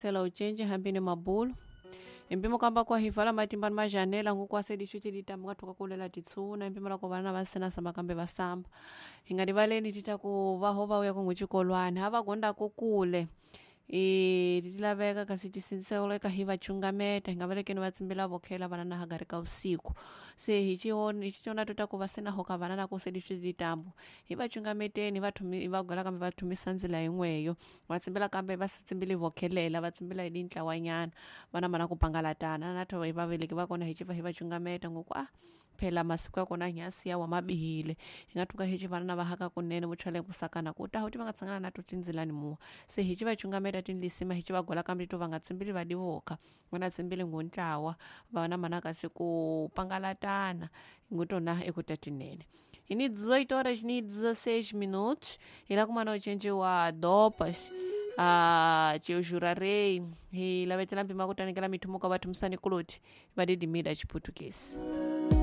Sela ucenje hambini mabulu empimo kamba kwahivala matimba ni majanela ngukwasedi xo cilitamba kathuka kulela titshuna empimo la ku vana va sena samba kambe va samba hi nga rivaleni tita ku vaho va uya kungu xikolwani ha va gondako kule ti laveka kasi tisindziseleka hi va chungameta hi nga valekeni va tsimbila vokhela vana na hagari ka usiku. Se hi xicona tota ku va sena hoka vana na kusedi swilitambo hi va chungameteni va thumi va gola kambe va thumisa ndzila yin'weyo va tsimbila kambe va si tsimbili vokhelela va tsimbila hi dintlawanyana vana mana ku pangalatana na tho hi vaveleki va kona hi civa hi va chungameta ngoku a phela masiku ya kona nyasi ya wa mabihile hi nga thuka hi ci vana na va haka kunene vo chwale kusakana ku ta ti va nga tshangana na to tindzilani muwa. Se hi ci va chungameta tinlisima hi ci va gola kambe to va nga tsimbili va divoka vana tsimbili ngontlawa vana mana kasi ku pangalatana ngutona ekuta tinene. Ini 18 horas ni 16 minutos ila kumana ucenje wa dopas a jurarei hi lavetela mpima kutanikela mithumo ka vathu musani kuloti vadidimida chiputukezi.